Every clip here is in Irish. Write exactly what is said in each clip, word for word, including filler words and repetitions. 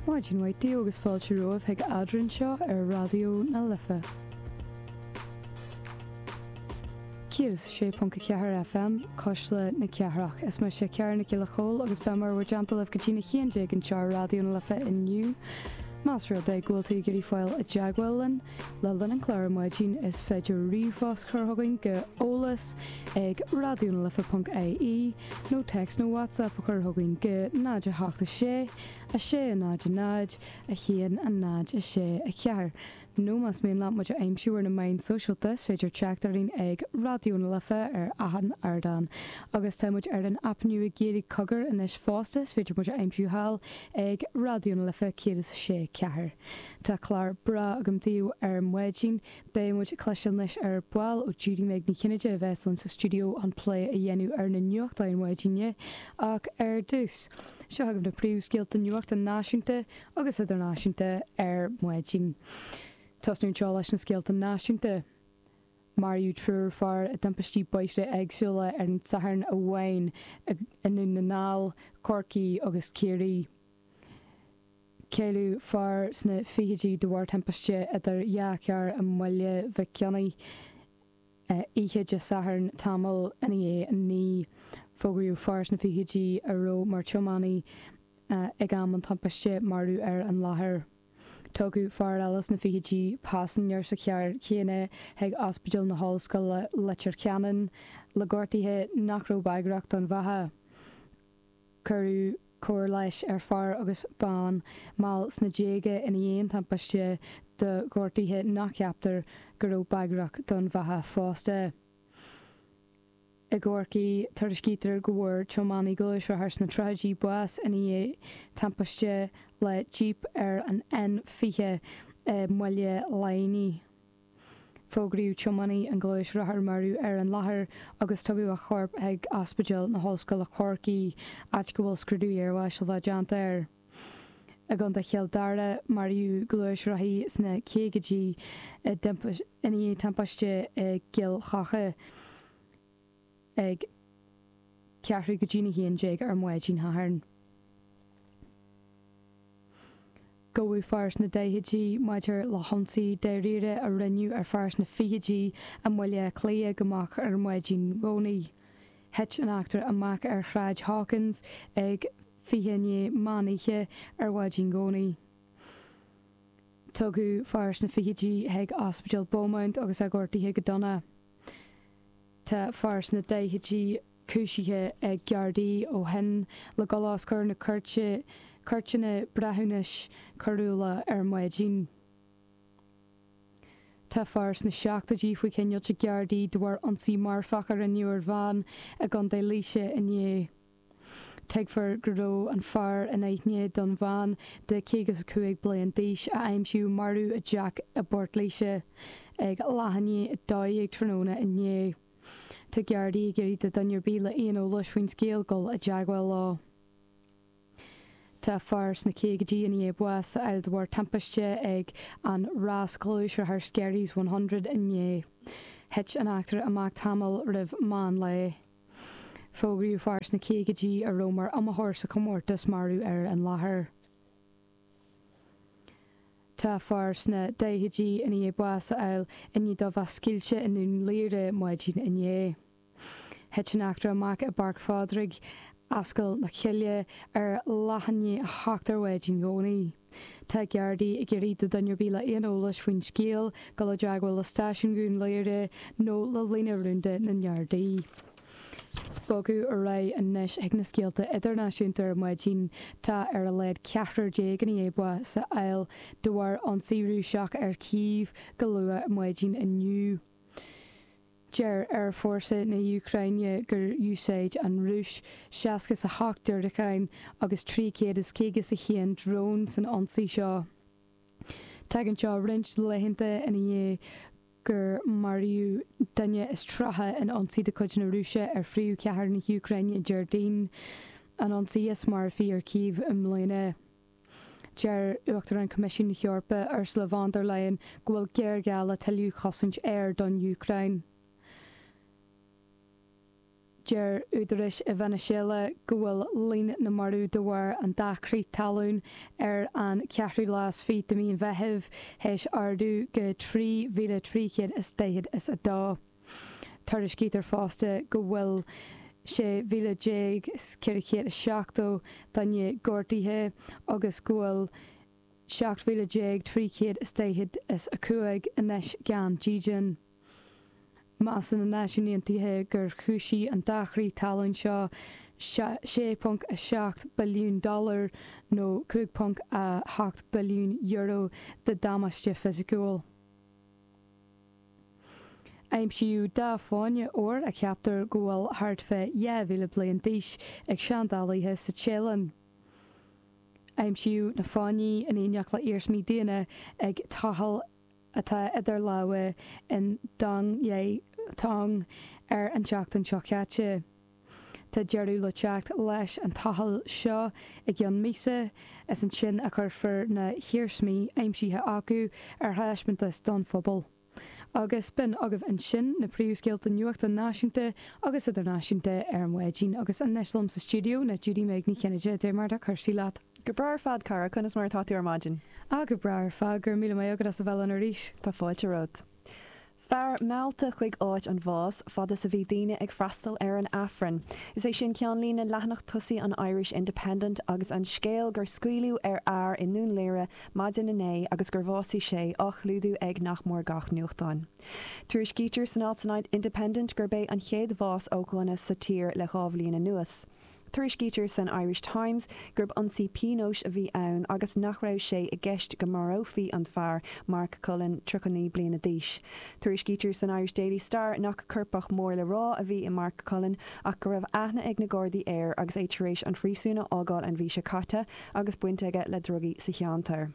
Maidin mhaith daoibh agus fáilte romhaibh chuig Eadrainn seo ar Raidió na Life. céad is a sé ponc a ceathair FM, Cuisle na Cathrach. Is mise Ciara Nic Giolla Chóill agus beidh mé i bhur dteannta libh go dtína haon déag anseo ar Raidió na Life inniu. Más rud é go bhfuil tú ag iarraidh fáil i dteagmháil linn le linn an chláir ar maidin is féidir ríomhphost a chur chugainn go eolas ag raidionalife ponc ie nó téacs nó WhatsApp a chur chugainn go náid a hocht a sé, a sé a náid a náid, a haon a náid a sé a ceathair. Nó más mian leat muid a aimsiú ar na meáin sóisialta is féidir teacht orainn ag Raidió na Life ar achan ardán. Agus tá muid ar an aip nua Gaeilge Cogar anois fosta, is féidir muid a aimsiú thall ag Raidió na Life céad is a sé ceathair. Tá clár breá agam daoibh ar maidin. Beidh muid ag cloisteáil anois ar ball ó Judy Meg Ní Chinnéide a bheas linn sa stiúideo chun plé a dhéanamh ar na nuachtáin maidine. Ach ar dtús, seo chugaibh na príomhscéalta nuachta náisiúnta agus idirnáisiúnta ar maidin. Tosnú anseo leis na scéalta náisiúnta. Maraíodh triúr fear i dtimpistí bóithre éagsúla ar an Satharn amháin i nDún na nGall, Corcaigh agus Ciarraí. Cailleadh fear sna fichidí de bharr timpiste idir dhá charr i mBaile Mhic Cionnaith oíche Dé Sathairn tamall i ndiaidh a naoi. Fógraíodh fear sna fichidí a raibh mar thiománaí ag am an timpiste marbh ar an láthair. Tugadh fear eile sna fichidí, paisinéir sa charr chéanna, chuig Ospidéal na hOllscoile Leitir Ceanainn le gortuithe nach raibh bagrach don bheatha. Cuireadh cóir leighis ar fear agus bean mall sna déaga i ndiaidh an timpiste do ghortuithe nach gceaptar go raibh bagrach don bheatha fosta. I gCorcaigh, tuairiscítear go bhfuair tiománaí gluaisrothair sna tríochaidí bás i ndiaidh timpiste le jíp ar an N fiche i mBaile Laighnigh. Fógraíodh tiománaí an ghluaisrothair marbh ar an láthair agus tugadh a chorp chuig Ospidéal na hOllscoile Corcaigh, áit go bhfuil scrúdú iarbháis le bheith déanta air. I gContae Chill Dara, maraíodh gluaisrothaí sna caogaidí i ndiaidh timpiste i gCill Choca ag ceathrú go dtína haon déag ar maidin Shathairn. Gabhadh fear sna daichidí maidir le hionsaí dáiríre a rinneadh ar fear sna fichidí i mBaile Átha Cliath go moch ar maidin Dhomhnaigh. Thit an eachtra amach ar Shráid Hawkins ag fiche i ndiaidh meán oíche ar mhaidin Dhomhnaigh. Tugadh fear sna fichidí chuig Ospidéal Beaumont agus é gortaithe go dona. Tá fear sna daichidí cúisithe ag Gardaí ó shin le dul os comhair na cúirte, cúirteanna breithiúnais coiriúla ar maidin. Tá fear sna seachtóidí faoi choinneáil ag Gardaí de bharr ionsaí marfach a rinneadh ar bhean i gContae Laoise inné. Tuigtear go raibh an fear in aithne don bhean de caoga is a cúig bliain d'aois a aimsíodh marbh i dteach i bPort Laoise ag leath i ndiaidh a dó dhéag tráthnóna inné. Tá Gardaí ag iarraidh do dhuine ar bith le aon eolais faoin scéal dul i dteagmháil leo. Tá fear sna caogaidí i ndiaidh bás a fháil de bharr timpiste ag an rás gluaisrothair Skerries one hundred inné. Thit an eachtra amach tamall roimh meán lae. Fógraíodh fear sna caogaidí a raibh mar iomaitheoir sa chomórtas marbh ar an láthair. Tá fear sna daichidí i ndiaidh bás a fháil i ndiaidh dó bheith scaoilte i nDún Laoghaire maidin inné. Thit an eachtra amach i bPáirc Phádraig, Ascaill na Cille, ar leath i ndiaidh a hocht ar mhaidin Dhomhnaigh. Tá Gardaí ag iarraidh do dhuine ar bith le aon eolais faoin scéal dul i dteagmháil le Stáisiún Dhún Laoghaire nó le líne rúnda na nGardaí. Bogadh ar aghaidh anois chuig na scéalta idirnáisiúnta ar maidin. Tá ar a laghad ceathrar déag i ndiaidh bás a fháil de bharr ionsaí Rúiseach ar Chív go luath ar maidin inniu. Deir Aerfhórsa na hÚcráine gur úsáid an Rúis seasca is a hocht diúracán agus trí chéad is caoga is a haon drón san ionsaí seo. Tagann seo roinnt laethanta ina dhiaidh gur maraíodh duine is tríocha in ionsaí de chuid na Rúise ar phríomhchathair na hÚcráine Déardaoin, an ionsaí is marfaí ar Chív i mbliana. Deir Uachtarán Choimisiún na hEorpa, Ursula von der Leyen, go bhfuil géarghá le tuilleadh chosaint aeir don Úcráin. Deir údaráis i Veiniséala go bhfuil líon na marbh de bharr an dá chrith talún ar an ceathrú lá is fiche de mhí an Mheithimh théis ardú go trí mhíle trí chéad is daichead is a dó. Tuairiscítear fosta go bhfuil sé mhíle déag is ceithre chéad is seachtó duine gortaithe agus go bhfuil seacht mhíle déag trí chéad is daichead is a cúig anois gan dídean. Measann na Náisiúin Aontaithe gur chúisigh an dá chrith talún seo sé ponc a seacht billiún dollar nó cúig ponc a hocht billiún euro de damáiste fisiciúil. Aimsíodh dhá fháinne óir a cheaptar go bhfuil thart fé dhá mhíle bliain d'aois ag seandálaithe sa Téalainn. Aimsíodh na fáinní in éineacht le iarsmaí daonna ag tochailt atá idir lámha in Dong Yai Tong ar an tseachtain seo caite. Tá deireadh le teacht leis an tochailt seo i gceann míosa, is ansin a chuirfear na hiarsmaí aimsithe acu ar thaispeántas don phobal. Agus b'in agaibh ansin na príomhscéalta nuachta náisiúnta agus idirnáisiúnta ar maidin agus anois liom sa stiúideo ná Judy Meg Ní Chinnéide cad é mar atá cúrsaí leat. Go breá ar fad cara conas mar atá tú ar maidin. Á go breá ar fad go raibh míle maith agat as a bheith linn arís. Tá fáilte romhat. Fear meallta chuig áit an bháis fad is a bhí daoine ag freastal ar an Aifreann. Is é sin ceannlíne leathanach tosaigh an Irish Independent agus an scéal gur scaoileadh ar fhear i nDún Laoghaire maidin inné agus gur bhásaigh sé á chlúdú ag nach mór gach nuachtán. Tuairiscítear san alt san Independent gurb é an chéad bhás ó ghunna sa tír le dhá bhliain anuas. Tuairiscítear san Irish Times gurb ionsaí pionóis a bhí ann agus nach raibh sé i gceist go marófaí an fear Mark Cullen tríocha naoi bliana d'aois. Tuairiscítear san Irish Daily Star nach coirpeach mór le rá a bhí i Mark Cullen ach go raibh aithne ag na Gardaí air agus é tar éis an phríosún a fhágáil an mhí seo caite agus baint aige le drugaí sa cheantar.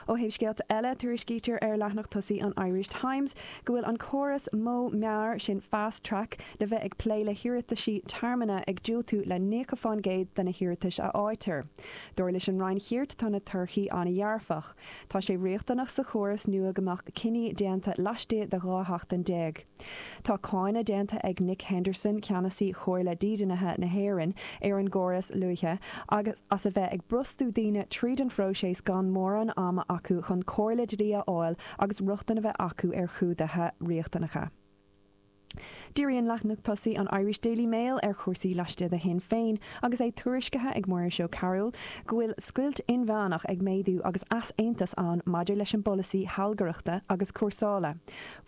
Ó thaobh scéalta eile tuairiscítear ar leathanach tosaigh an Irish Times go bhfuil an córas modh mear sin fast track le bheith ag plé le hiarrataisí tearmann ag diúltú le nócha faoin gcéad de na hiarratais a fhaightear. Dar leis an Roinn Chirt tá na torthaí an-dearfach. Tá sé riachtanach sa chóras nua go mbeadh cinní déanta laistigh de dhá sheachtain déag. Tá cáineadh déanta ag Nick Henderson ceannasaí Chomhairle Dídeanaithe na hÉireann ar an gcóras luaithe agus as a bheith ag brostú daoine tríd an phróiseas gan mórán ama acu chun comhairle dlí a fháil agus rochtain a bheith acu ar chumhdaithe riachtanacha. Díríonn leathanach tosaigh an Irish Daily Mail ar chúrsaí laistigh de Shinn Féin agus é tuairiscithe ag Muiris Ó Cearúil go bhfuil scoilt inmheánach ag méadú agus easaontas ann maidir leis an bpolasaí sealgaireachta agus cúrsála.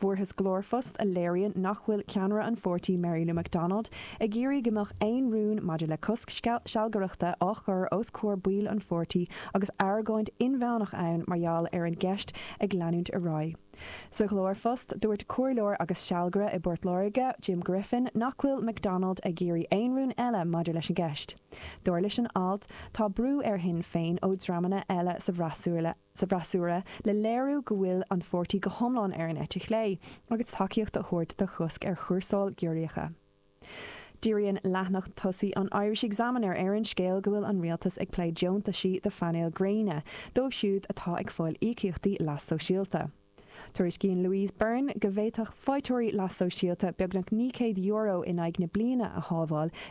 Fuarthas glórphost a léiríonn nach bhfuil ceannaire an pháirtí Mary Lou McDonald ag iarraidh go mbeadh aon rún maidir le cosc sealgaireachta á chur os comhair baill an pháirtí agus argóint inmheánach ann mar gheall ar an gceist ag leanúint ar aghaidh. Sa ghlórphost dúirt comhairleoir agus sealgaire i bPort Láirge, Jim Griffin, nach bhfuil McDonald ag iarraidh aon rún eile maidir leis an gceist. Dar leis an alt tá brú ar Shinn Féin ó dhreamanna eile sa bhfreasúra sa bhfreasúra le léiriú go bhfuil an pháirtí go hiomlán ar an eite chlé agus tacaíocht a thabhairt do chosc ar chúrsáil giorriacha. Díríonn leathanach tosaigh an Irish Examiner ar an scéal go bhfuil an rialtas ag plé deontaisí do phainéil gréine, dóibh siúd atá ag fáil íocaíochtaí leas sóisialta. Tuairiscíonn Louise Byrne go bhféadfadh faighteoirí leas sóisialta beagnach naoi gcéad euro in aghaidh na bliana a shábháil i